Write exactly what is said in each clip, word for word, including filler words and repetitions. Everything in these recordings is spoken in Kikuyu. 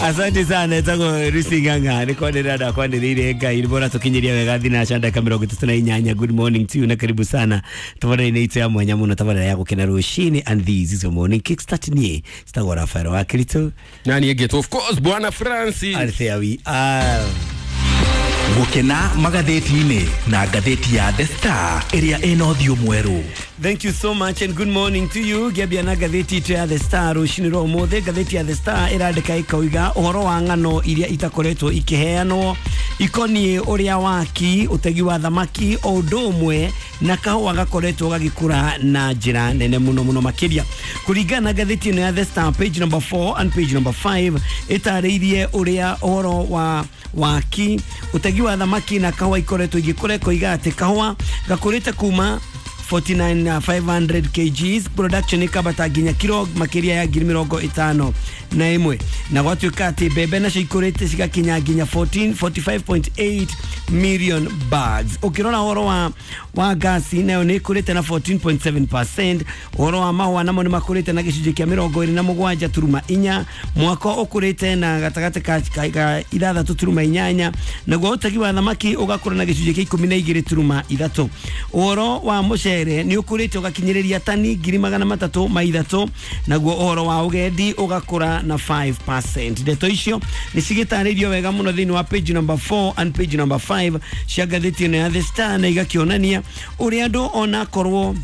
Asante sana, etagwo Lucy Ng'ang'a nä kwanä ndakwanä rä ire Ngai nä bora tå kinyä ria wega thinaca ndagä mä rongo ä tatå na inyanya. Good morning to you na karibu sana tabarä-inä itå ya mwanya må no, tabarä ya gå kena rå and this is your morning kickstart. Niä citagwo Rafael wa Kiritå. Nani ĩngĩtwo, of course, Bwana Francis. And there we are. Gũkena magathĩti-inĩ na ngathĩti ya The Star ĩrĩa ĩna ũthiũ mwerũ. Thank you so much and good morning to you. Ngĩambia na ngathĩti itũ ya The Star rũcinĩ rwa ũmũthĩ. Ngathĩti ya The Star ĩrandĩka ĩkoiga ũhoro wa ng'ano iria itakoretwo ikĩheanwo ikoniĩ ũrĩa waki, ũtegi wa thamaki o ũndũ ũmwe na kahũa gakoretwo gagĩkũra na njĩra nene mũno mũno makĩria. Kũringana na ngathĩti ĩno ya The Star, page number four and page number five ĩtarĩirie ũrĩa ũhoro wa waki, ũtegi wa thamaki na kahũa ikoretwo igĩkũra, ĩkoiga atĩ kahũa gakũrĩte kuma forty-nine thousand five hundred kgs production ikabata nginya kiro makiria ya ngiri mĩrongo ĩtano na ĩmwe, na gwatuĩka atĩ mbembe nacio ikũrĩte cigakinya nginya fourteen forty-five point eight million bags. Ũkĩrora ũhoro wa wa gasi nayo nĩ ĩkũrĩte na fourteen point seven percent. Ũhoro wa mahũa namo nĩ makũrĩte na gĩcunjĩ kĩa mĩrongo ĩrĩ na mũgwanja turuma inya. Mwako ũkũrĩte na gatagatĩ ka, ka, ka ithathatũ turuma inyanya, naguo ũtegi wa thamaki ũgakũra na gĩcunjĩ kĩa ikũmi na igĩrĩ turuma ithatũ. Ũhoro wa mũcere nĩ ũkũrĩte ũgakinyĩrĩria tani ngiri magana matatũ ma ithatũ, naguo ũhoro wa ũgendi ũgakũra na five percent. Ndeto icio nĩ cigĩtarĩirio wega mũno thĩinĩ wa page number four and page number five cia ngathĩti ĩno ya The Star, na igakĩonania ũrĩa andũ onakorwo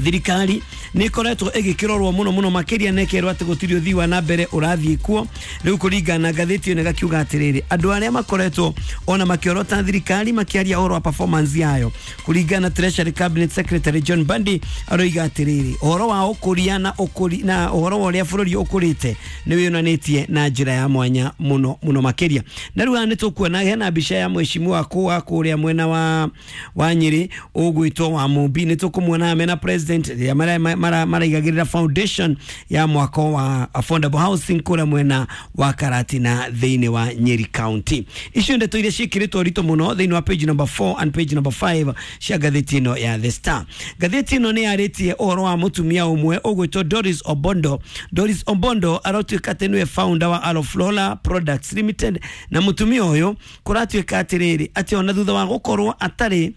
thirikari nä ĩkoretwo ĩgĩkĩrorwo mũno mũno makĩria na ĩkerwo atĩ gũtirĩ ũthii wa na mbere ũrathiĩ kuo. Rĩu kũringana na ngathĩti ĩno ĩgakiuga atĩrĩrĩ, andũ arĩa makoretwo ona makĩorota thirikari makĩaria ũhoro wa performance yayo, kũringana na Treasury Cabinet Secretary John Mbadi, aroiga atĩrĩrĩ, ũhoro wa ũkũria na ũkũri na ũhoro wa ũrĩa bũrũri ũkũrĩte nĩ wĩyonanĩtie na njĩra ya mwanya mũno mũno makĩria. Na rĩu haha nĩ tũkuona hena mbica ya mheshimiwa wa kũrĩa mwena wa wa Nyĩrĩ ũgwĩtwo wa Mumbi, nĩ tũkũmuona mena president rĩrĩa mara- mara- maraigagĩrĩra foundation ya mwako wa affordable housing kũrĩa mwena wa Karatina thĩinĩ wa Nyeri County. Icio ndeto iria ciĩkĩrĩtwo ũritũ mũno thĩinĩ wa page number four and page number five cia ngathĩti ĩno ya The Star. Ngathĩti ĩno nĩ yarĩtie ũhoro wa mũtumia ũmwe ũgwĩtwo Doris Obondo. Doris Obondo aratuĩka atĩ nĩwe founder wa Aloflora Products Limited, na mũtumia ũyũ kũratuĩka atĩrĩrĩ, atĩ ona thutha wa gũkorwo atarĩ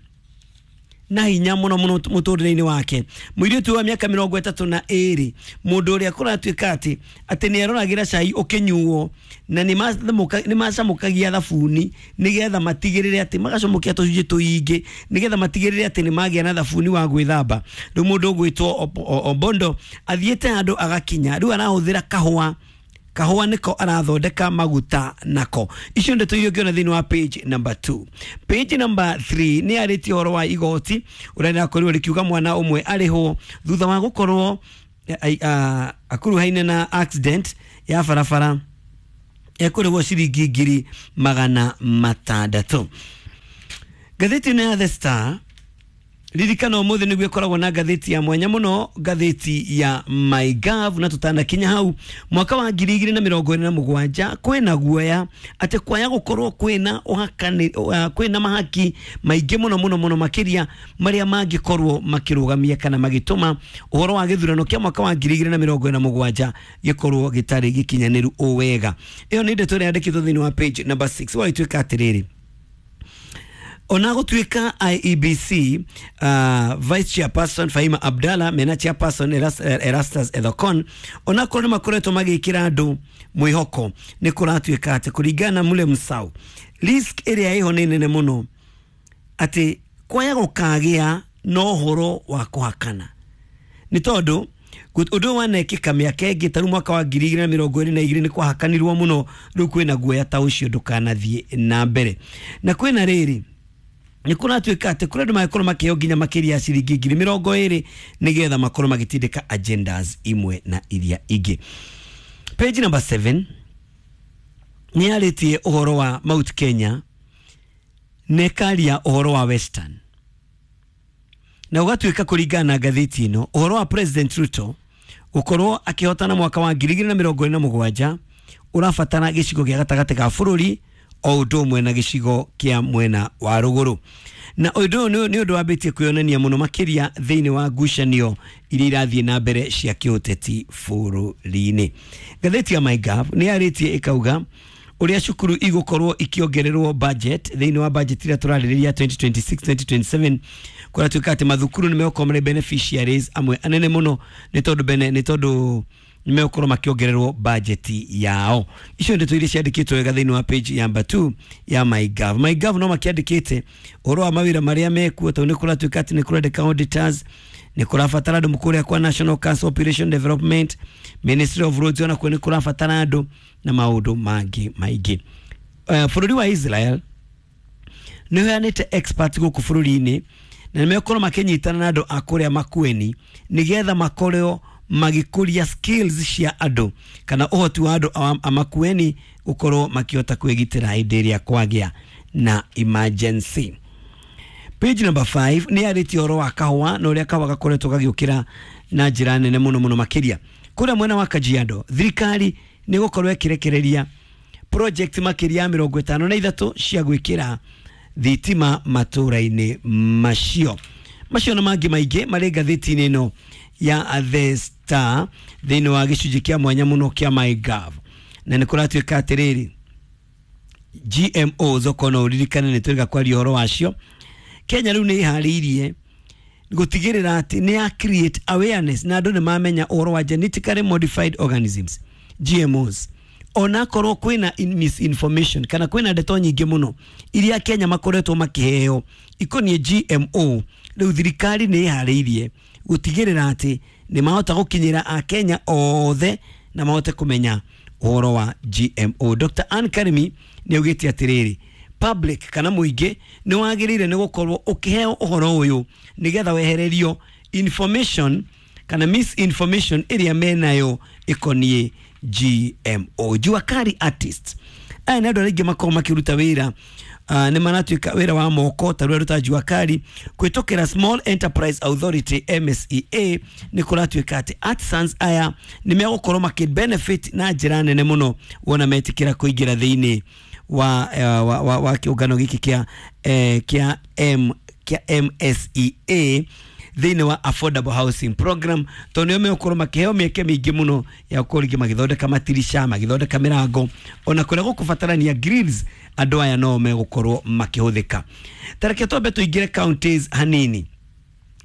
na hinya muno muno mũtũrĩre-inĩ wake, mũirĩtu wa mĩaka mĩrongo ĩtatũ na ĩrĩ, mũndũ ũrĩa kũratuĩka atĩ atĩ nĩ aroragĩra cai ũkĩnyuo na nĩ macamũkagia thabuni nĩgetha matigĩrĩre atĩ magacamũkia tũcunjĩ tũingĩ nĩgetha matigĩrĩre atĩ nĩ magĩa na thabuni wa gwĩthamba. Rĩu mũndũ ũgwĩtwo Obondo athiĩte handũ agakinya rĩu arahũthĩra kahũa, kahũa nĩko arathondeka maguta nako. Icio ndeto iria ũngĩona thĩinĩ wa page number two. Page number three nĩ yarĩtie ũhoro wa igoti ũrĩa rĩrakorirwo rĩkiuga mwana ũmwe arĩhwo thutha wa gũkorwo akuruhaine na accident ya barabara, ekũrĩhwo ciringi ngiri magana matandatũ. Ngathĩti ĩno ya The Star, ririkana ũmũthĩ nĩguo ĩkoragwo na ngathĩti ya mwanya mũno, ngathĩti ya MyGov, na tũtanakinya hau, mwaka wa ngiri igĩrĩ na mĩrongo ĩrĩ na mũgwanja kwĩna guoya atĩ kwaya gũkorwo kwĩna ũhakani, kwĩna mahaki maingĩ mũno mũno mũno makĩria marĩa mangĩkorwo makĩrũgamia kana magĩtũma ũhoro wa gĩthurano kĩa mwaka wa ngiri igĩrĩ na mĩrongo ĩrĩ na mũgwanja gĩkorwo gĩtarĩ gĩkinyanĩru o wega. Ĩyo nĩ ndeto ĩrĩa yandĩkĩtwo thĩinĩ wa page number six. Wagĩtuĩka atĩrĩrĩ, ona gũtuĩka I E B C uh, vice chairperson Fahima Abdalla mena chairperson Eras, Erastus Ethekon onakorwo nĩ makoretwo magĩkĩra andũ mwĩhoko, nĩ kũratuĩka atĩ kũringana na Mule Musau, risk ĩrĩa ĩho nĩ nene mũno atĩ kwaya gũkagĩa na ũhoro wa kũhakana, nĩ tondũ ũndũ ũyũ wanekĩka mĩaka ĩngĩ ta rĩu mwaka wa ngiri igĩrĩ na mĩrongo ĩrĩ na igĩrĩ nĩ kwahakanirwo mũno. Rĩu kwĩna guoya ta ũcio ndũkanathiĩ na mbere, na kwĩna rĩrĩ nĩ kũratuĩka atĩ kũrĩ andũ mangĩkorwo makĩheo nginya makĩria ya ciringi ngiri mĩrongo ĩrĩ nĩgetha makorwo magĩtindĩka agendas imwe na iria ingĩ. Page number seven nĩ yarĩtie ũhoro wa Mount Kenya na ĩkaria ũhoro wa Western, na ũgatuĩka kũringana na ngathĩti ĩno, ũhoro wa President Ruto gũkorwo akĩhotana mwaka wa ngiri igĩrĩ na mĩrongo ĩrĩ na mũgwanja ũrabatara gĩcigo gĩa gatagatĩ ga bũrũri o ũndũ ũmwe na gĩcigo kĩa mwena wa rũgũrũ. Na ũndũ ũyũ nĩ ũndũ wambĩtie kwĩyonania mũno makĩria thĩinĩ wa ngucanio iria irathiĩ na mbere cia kĩũteti bũrũri-inĩ. Ngathĩti ya MyGov nĩ yarĩtie ĩkauga ũrĩa cukuru igũkorwo ikĩongererwo budget thĩinĩ wa budget ĩrĩa tũrarĩrĩria twenty twenty-six twenty twenty-seven, kũratuĩka atĩ mathukuru nĩ megũkorwo marĩ beneficiaries amwe anene mũno nĩ tondũ bene nĩ tondũ nĩ megũkorwo makĩongererwo budget yao. Icio ndeto iria ciandĩkĩtwo wega thĩinĩ wa page number two ya MyGov. MyGov no makĩandĩkĩte ũhoro wa mawĩra marĩa mekuo, tondũ nĩ kũratuĩka atĩ nĩ kũrendeka auditors, nĩ kũrabatara andũ kũrĩa kwa National Council Operation Development, Ministry of Roads ona kuo nĩ kũrabatara andũ na maũndũ mangĩ maingĩ. Uh, bũrũri wa Israel nĩ ũheanĩte experts gũkũ bũrũri-inĩ na nĩ megũkorwo makĩnyitana na andũ a kũrĩa Makueni nĩgetha makorwo magĩkũria skills cia andũ kana ũhoti wa andũ a Makueni gũkorwo makĩhota kwĩgitĩra hĩndĩ ĩrĩa kwagĩa na emergency. Page number five nĩ yarĩtie ũhoro wa kahũa na ũrĩa kahũa gakoretwo gagĩũkĩra na njĩra nene mũno mũno makĩria. Kũrĩa mwena wa Kajiado thirikari nĩ gũkorwo ĩkĩrekereria project makĩria ya mĩrongo ĩtano na ithatũ cia gwĩkĩra thitima matũra-inĩ macio. Macio na mangĩ maingĩ marĩ ngathĩti-inĩ ĩno ya The Star thĩinĩ wa gĩcunjĩ kĩa mwanya mũno kĩa MyGov. Na nĩ kũratuĩka atĩrĩrĩ, G M Os okorwo no ũririkane nĩ twĩrĩga kwaria ũhoro wacio. Kenya rĩu nĩ ĩharĩirie gũtigĩrĩra atĩ nĩ ya create awareness na andũ nĩ mamenya ũhoro wa genetically modified organisms G M Os. Onakorwo kwĩna misinformation kana kwĩna ndeto nyingĩ mũno iria Kenya makoretwo makĩheo ikoniĩ G M O, rĩu thirikari nĩ ĩharĩirie gũtigĩrĩra atĩ nĩ mahota gũkinyĩra akenya othe na mahote kũmenya ũhoro wa G M O. Doctor Ann Karimi nĩ augĩte atĩrĩrĩ, public kana mũingĩ nĩ wagĩrĩire nĩ gũkorwo ũkĩheo ũhoro ũyũ nĩgetha wehererio information kana misinformation ĩrĩa menayo ĩkoniĩ G M O. Jua Kali artists aya nĩ andũ arĩa aingĩ makoragwo makĩruta wĩra uh, nĩ maratuĩka wĩra wa moko ta rũrĩa ruta Jua Kali kwĩtũkĩra Small Enterprise Authority M S E A. Nĩ kũratuĩka atĩ artisans aya nĩ megũkorwo makĩ benefit na njĩra nene mũno wona metĩkĩra kũingĩra thĩinĩ wa, uh, wa, wa, wa kĩũngano gĩkĩ kĩa eh, kĩa M kĩa M S E A thĩinĩ wa Affordable Housing Program, tondũ nĩo megũkorwo makĩheo mĩeke mĩingĩ mũno ya gũkorwo rĩngĩ magĩthondeka matirisha, magĩthondeka mĩrango, ona kũrĩa gũkũbatarania grills, andũ aya no megũkorwo makĩhũthĩka. Ta reke twambe tũingĩre counties hanini.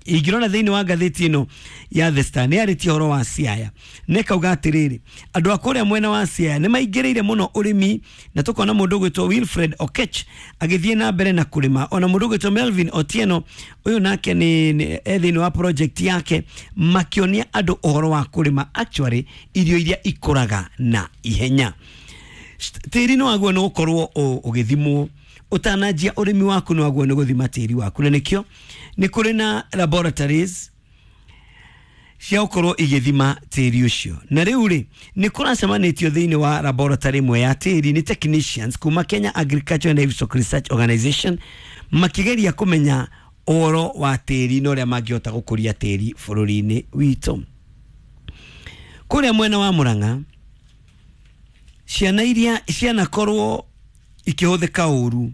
Ingĩrora thĩinĩ wa ngathĩti ĩno ya The Star nĩ yarĩtie ũhoro wa Siaya na ĩkauga atĩrĩrĩ, andũ a kũrĩa mwena wa Siaya nĩ maingĩrĩire mũno ũrĩmi, na tũkona mũndũ ũgwĩtwo Wilfred Okech agĩthiĩ na mbere na kũrĩma, ona mũndũ ũgwĩtwo Melvin Otieno ũyũ nake nĩ e thĩinĩ wa project yake makĩonia andũ ũhoro wa kũrĩma actually irio iria ikũraga na ihenya. Tĩri nĩ waguo nĩ gũkorwo ũgĩthimwo ũtananjia ũrĩmi waku, nĩ waguo nĩ gũthima tĩri waku, na nĩkĩo nĩ kũrĩ na laboratories cia gũkorwo igĩthima tĩri ũcio. Na rĩu rĩ nĩ kũracemanĩtio thĩinĩ wa laboratory ĩmwe ya tĩri nĩ technicians kuma Kenya Agriculture and Livestock Research Organization makĩgeria kũmenya ũhoro wa tĩri na ũrĩa mangĩhota gũkũria tĩri bũrũri-inĩ witũ. Kũrĩa mwena wa Murang'a ciana iria cianakorwo ikĩhũthĩka ũru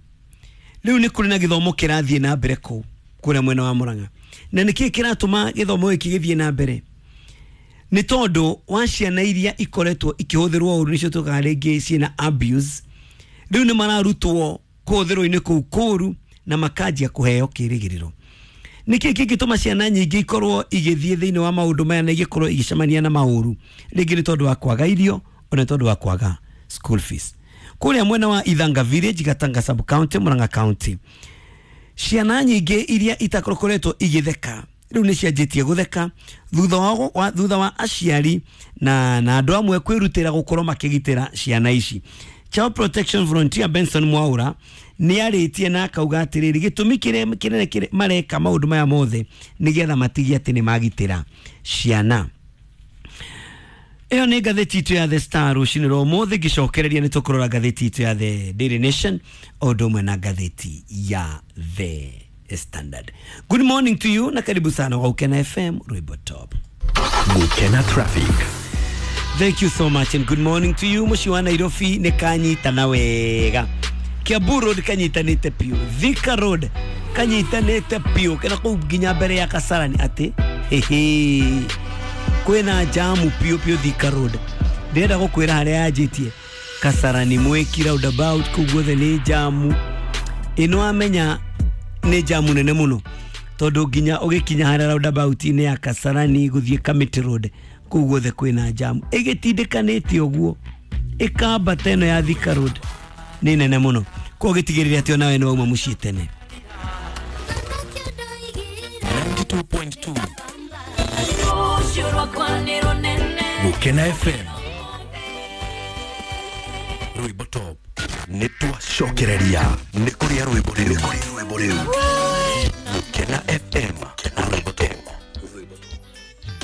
rĩu nĩ kũrĩ na gĩthomo kĩrathiĩ na mbere kũu kũrĩa mwena wa Murang'a. Na nĩkĩĩ kĩratũma gĩthomo gĩkĩ gĩthiĩ na mbere? Nĩ tondũ wa ciana iria ikoretwo ikĩhũthĩrwo ũru, nĩcio tũkaga rĩngĩ ciĩna abuse, rĩu nĩ mararutwo kũhũthĩrwo-inĩ kũu kũru na makanjia kũheo kĩrĩgĩrĩro. Nĩkĩĩ kĩngĩtũma ciana nyingĩ ikorwo igĩthiĩ thĩinĩ wa maũndũ maya na igĩkorwo igĩcemania na maũru? Rĩngĩ nĩ tondũ wa kwaga irio, ona tondũ wa kwaga school fees. Kũrĩa mwena wa Ithanga Village, Gatanga Sub County, Murang'a County, ciana nyingĩ iria itakoretwo igĩtheka rĩu nĩ cianjĩtie gũtheka thutha wa thutha wa aciari na na andũ amwe kwĩrutĩra gũkorwo makĩgitĩra ciana ici. Child Protection Volunteer Benson Mwaura nĩ arĩtie na akauga atĩrĩrĩ, gĩtũmi kĩrĩa kĩnene kĩrĩa mareka maũndũ maya mothe nĩgetha matigie atĩ nĩ magitĩra ciana. Ĩyo nĩ ngathĩti itũ ya The Star rũcinĩ rwa ũmũthĩ. Ngĩcokereria nĩ tũkũrora ngathĩti itũ ya The Daily Nation o ũndũ ũmwe na ngathĩti ya The Standard. Good morning to you na karibu sana kwa Gukena F M Rwimbo Top. Gukena Traffic. Thank you so much and good morning to you. Mũciĩ wa Nairobi nĩ kanyitana wega. Kiambu Road kanyitanite piũ, Thika Road kanyitanite piũ kena kũu nginya mbere ya Kasarani atĩ hehe kwĩna jamu piũ piũ Thika Road. Ndĩrenda gũkwĩra harĩa yanjĩtie Kasarani Mwiki roundabout kũu guothe nĩ jamu ĩno amenya nĩ jamu nene mũno tondũ nginya ũgĩkinya harĩa roundabout-inĩ ya Kasarani gũthiĩ Kamiti Road kũu guothe kwĩna jamu ĩgĩtindĩkanĩte ũguo ĩkambata ĩno ya Thika Road nĩ nene mũno. Koguo gĩtigĩrĩre atĩ onawe nĩ wauma mũciĩ tene. ninety two point two Gukena F M Rwimbo Top nĩ twacokereria nĩ kũrĩa rwimbo rĩu Gukena F M Rwimbo